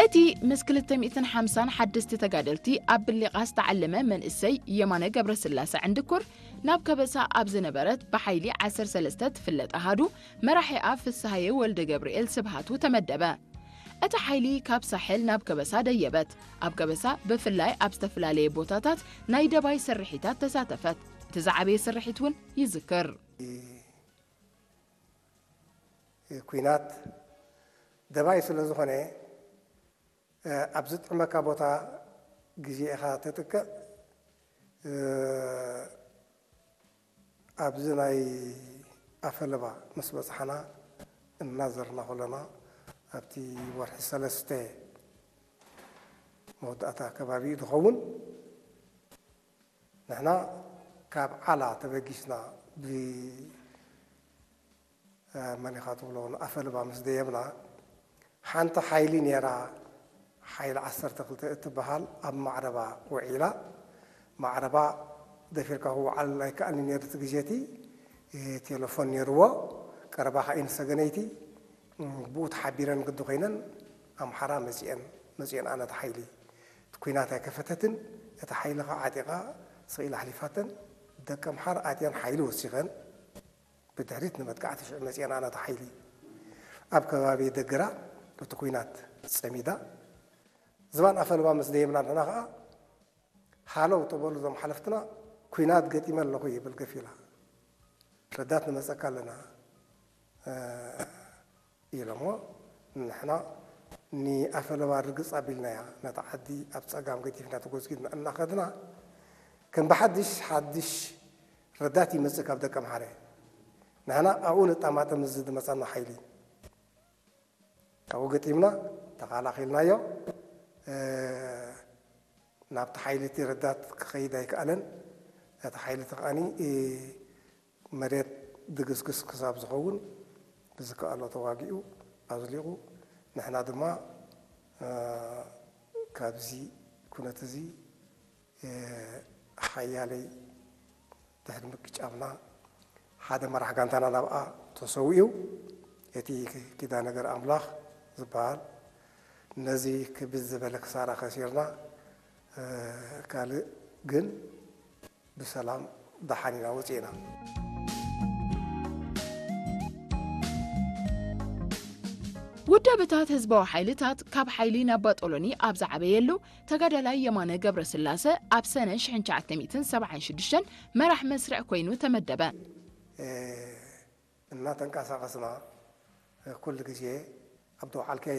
እቲ ምስ ክልተ ሚእትን ሓምሳን ሓደስቲ ተጋደልቲ ኣብ ብሊቓ ዝተዓለመ መንእሰይ የማነ ገብረስላሰ ዕንድኩር፣ ናብ ከበሳ ኣብ ዝነበረት ብሓይሊ ዓሰርተ ሰለስተ ትፍለጥ ኣሃዱ፣ መራሒኣ ፍስሃየ ወልደ ገብርኤል ስብሃቱ ተመደበ። እቲ ሓይሊ ካብ ሳሕል ናብ ከበሳ ደየበት። ኣብ ከበሳ ብፍላይ ኣብ ዝተፈላለየ ቦታታት ናይ ደባይ ስርሒታት ተሳተፈት። እቲ ዝዓበየ ስርሒት እውን ይዝክር። ኲናት ደባይ ስለ ዝኾነ፣ ኣብ ዝጥዕመካ ቦታ ግዜ ኢኻ ተጥቅዕ። ኣብዚ ናይ ኣፈለባ ምስ በጽሓና፣ እናዘርና ከለና፣ ኣብቲ ወርሒ ሰለስተ መወዳእታ ከባቢ ዝኸውን፣ ንሕና ካብ ዓላ ተበጊስና፣ ብ መን ኢኻ ትብሎ፣ ንኣፈለባ ምስ ደየብና፣ ሓንቲ ሓይሊ ነይራ፣ ሓይሊ ዓሰርተ ክልተ እትበሃል፣ ኣብ ማዕረባ ውዒላ። ማዕረባ ደፊርካ ክወዓል ኣይከኣልን ነይሩ። እቲ ግዜ እቲ ቴሌፎን ነይርዎ። ቀረባ ከኣ እየን ሰገነይቲ፣ ብኡ ተሓቢረን ግዲ ኮይነን ኣምሓራ መጺአን፣ መጺአን ኣነ እቲ ሓይሊ። እቲ ኲናት ኣይከፈተትን። እቲ ሓይሊ ከኣ ዓጢቓ ስቕ ኢላ ኣሕሊፋተን። ደቂ ኣምሓራ ኣትየን ሓይሊ ወሲኸን። ብድሕሪት ንመጥቃዕቲ ሽዑ መጺአን ኣነ እቲ ሓይሊ። ኣብ ከባቢ ደግራ እቲ ኲናት ጸሚዳ። ዝባን ኣፈለባ ምስ ደየብና ንሕና ከኣ፣ ሃለው ተበሉ እዞም ሓለፍትና፣ ኲናት ገጢመ ኣለኹ ይብል ገፊላ። ረዳት ንመጸካ ኣለና፣ እ፣ ኢሎሞ። ንሕና ንኣፈለባ ርግጽ ኣቢልናያ፣ ነታ ዓዲ ኣብ ጸጋም ገዲፍና ተጎዝጊዝና እናኸድና፣ ከም ብሓድሽ ሓድሽ ረዳት ይመጽእ ካብ ደቀምሓረ። ንሕና ኣብኡ ንጣማጠም፣ እዚ ዝመጸና ሓይሊ። ኣብኡ ገጢምና፣ ተኻላኺልናዮ። እ፣ ናብቲ ሓይሊ እቲ ረዳት ክኸይድ ኣይከኣለን። እቲ ሓይሊ እቲ ከኣኒ፣ እ፣ መሬት ድግስግስ ክሳብ ዝኸውን ብዝከኣሎ ተዋጊኡ ኣዝሊቑ። ንሕና ድማ፣ እ፣ ካብዚ ኩነት እዚ፣ እ፣ ሓያለይ ድሕሪ ምቅጫምና፣ ሓደ መራሕ ጋንታና ናብኣ ተሰዊኡ። እቲ ኪዳነ ገር ኣምላኽ ዝበሃል፣ ነዚ ክብድ ዝበለ ክሳራ ከሲርና፣ እ፣ ካልእ ግን ብሰላም ደሓን ኢና ወፂእና። ውዳበታት ህዝባዊ ሓይልታት ካብ ሓይሊ ናብ ባጦሎኒ ኣብ ዝዓበየሉ፣ ተጋዳላይ የማነ ገብረስላሰ ኣብ ሰነ ሽሕን ትሽዓተ ሚእትን ሰብዓን ሽዱሽተን መራሕ መስርዕ ኮይኑ ተመደበ። እናተንቀሳቐስና ኩሉ ግዜ ኣብ ተወዓልካዮ